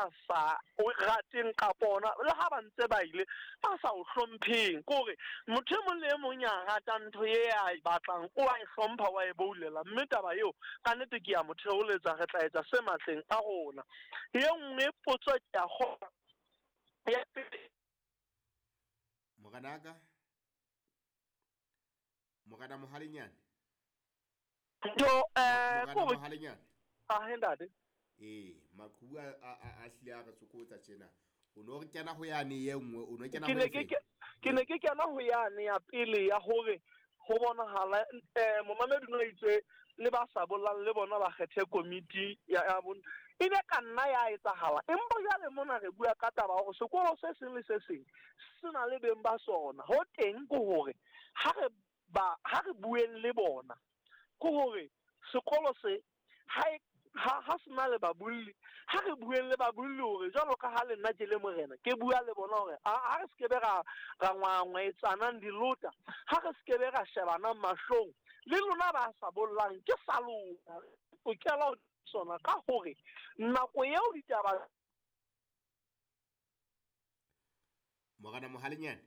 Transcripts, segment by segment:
ya sa o rateng kapa ona le ha ba ntse ba ile ba sa o hlompheng. Ke hore motho e mong le e mong ya ratang ntho e a e batlang o a e hlompha, wa e boulela, mme taba eo ka nnete ke ya mo theoletsa. Re tla etsa se matleng a rona. E nngwe potso ke a kgolwa ya pele. Morenaka, Morena Mohalenyane. Ntho eh Morena Mohalenyane. Ah, ntate. Ee, maqhubu a hlile a re tsokotsa tjena. O no re kena ho yane ye nngwe, o no kena ho efe? Ke ne ke kena ho yane ya pele ya hore ho bonahala momamedi no itse le ba sa bollang le bona ba kgethe komiti ya bon. E ne ka nna ya etsahala. Empa jwale mona re bua ka taba hore sekolo se seng le se seng se na le beng ba sona. Ho teng ke hore ha re ba ha re bueng le bona ke hore sekolo se ha ha se na le babolli, ha re bueng le babolli hore jwalo ka ha le nna ke le morena ke bua le bona hore ha re se ke be ra ngwangwaetsanang dilota, ha re se ke be ra shebanang mahlong le lona ba sa bollang ke sa lona tokelo sona, ka hore nako eo ditaba. Morena Mohalenyane,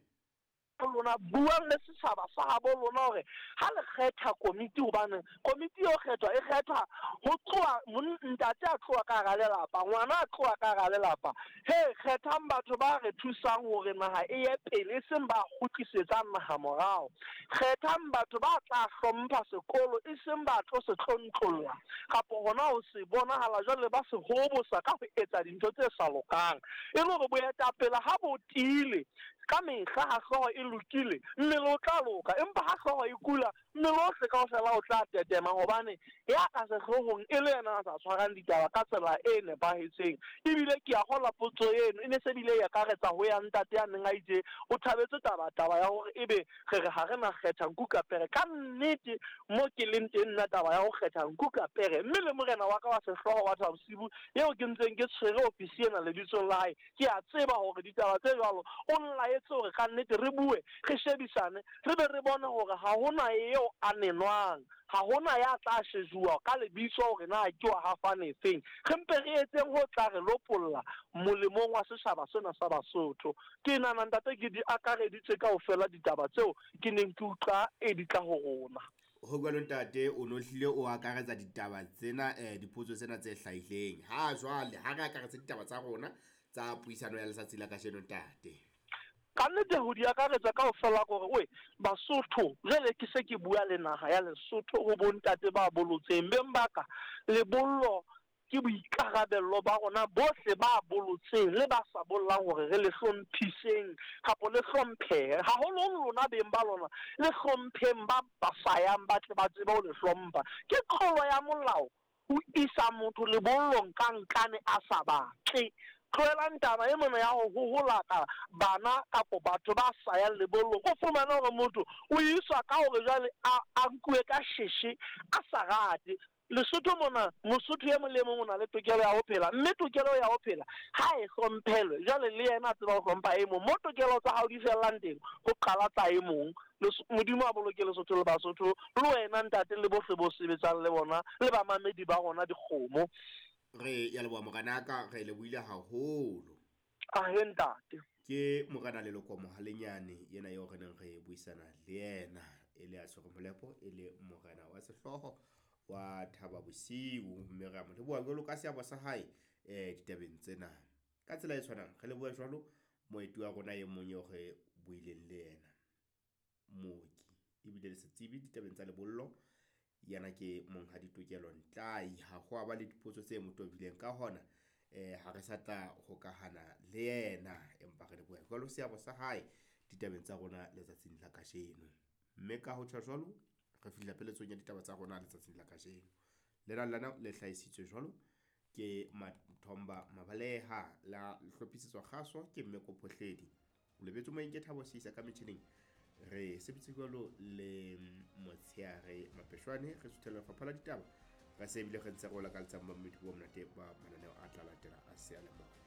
lona buang le setjhaba sa habo lona hore ha le kgetha komiti, hobane komiti eo kgethwa e kgethwa ho tloha ntate a tloha ka hara lelapa, ngwana a tloha ka hara lelapa. He, kgethang batho ba re thusang hore naha e ye pele, e seng ba kgutlisetsang naha morao. Kgethang batho ba tla hlompha sekolo, e seng ba tlo se tlontlolla kapa hona ho se bonahala jwale ba se hobosa ka ho etsa dintho tse sa lokang. E le hore boetapele ha bo tiile ka mehla, ha hlooho e lokile mmele o tla loka, empa ha hlooho e kula mmele ohle kaofela o tla tetema, hobane ya ka sehloohong e le yena a sa tshwarang ditaba ka tsela e nepahetseng. Ebile ke a kgolwa potso eno e ne se bile e akaretsa ho ya ntate ya neng a itse o thabetse taba ya hore ebe re re ha re na kgetha nku ka pere. Ka nnete mo ke leng teng nna taba ya ho kgetha nku ka pere, mme le morena wa ka wa sehlooho wa Thabosibu eo ke ntseng ke tshwere ofisi ena lebitsong la hae, ke a tseba hore ditaba tse jwalo o nlaetse hore ka nnete re bue, re shebisane, re be re bone hore ha hona eo a nenwang, ha hona ya tla shejuwa ka lebitso hore na ke wa hafane efeng. Re mpe re etseng ho tla re lopolla molemong wa setjhaba sena sa Basotho. Ke nahana ntate ke di akareditse kaofela ditaba tseo ke neng ke utlwa e di tla ho rona. Ho jwalo ntate, o no hlile o akaretsa ditaba tsena, dipotso tsena tse hlahileng. Ha jwale ha re akaretse ditaba tsa rona tsa puisano ya letsatsi la kajeno ntate. Ka nnete ho di akaretsa kaofela hore oe Basotho, jwale ke se ke bua le naha ya Lesotho ho bontate ba bolotseng beng ba ka, lebollo ke boikarabello ba rona bohle ba bolotseng le ba sa bollang hore re le hlomphiseng kapa le hlomphehe. Haholoholo lona beng ba lona le hlompheng ba sayang ba tle ba tsebe ho le hlompha. Ke tlolo ya molao ho isa motho lebollong ka nkane a sa batle. Tlohelang taba e mona ya ho hoholaka bana kapa batho ba sa yang lebollong. O fumane hore motho o iswa ka hore jwale a nkuwe ka sheshe a sa rate. Lesotho mona, Mosotho e mong le mong o na le tokelo ya ho phela, mme tokelo ya ho phela ha e hlomphelwe. Jwale le yena a tseba ho hlompha e mong. Mo tokelo tsa hao di fellang teng, ho qala tsa e mong. Modimo a boloke Lesotho le Basotho, le wena ntate le bohle bo sebetsang le bona, le bamamedi ba rona dikgomo. Re ya leboha morenaka, re lebohile haholo. Ahe ntate. Ke morena Leloko Mohalenyane yena eo re neng re buisana le yena, e le a tshwere molepo, e le morena wa sehlooho wa Thaba Bosiu, mme re a mo leboha jwalo ka seabo sa hae ditabeng tsena. Ka tsela e tshwanang re leboha jwalo moeti wa rona e mong eo re buileng le yena, mooki ebile le setsebi ditabeng tsa lebollo, yena ke Monghadi Tokelo Ntlai. Ha ho a ba le dipotso tse mo tobileng, ka hona ha re sa tla hokahana le yena, empa re leboha jwalo seabo sa hae ditabeng tsa rona letsatsing la kajeno. Mme ka ho tjho jwalo re fihla peletsong ya ditaba tsa rona letsatsing la kajeno. Lena lena le hlahisitswe jwalo ke Mathomba Mabaleha, la hlophisetswa kgaso ke Mmeko Phohledi. O lebetse moyeng ke Thabo Seisa ka metjhining. Re sebetse jwalo le Motsheare Mapeshwane, re suthela lefapha la ditaba. Re se ebile re ntse re o lakaletsang bommedi bo monate ba mananeo a tla latela a seyalemoya.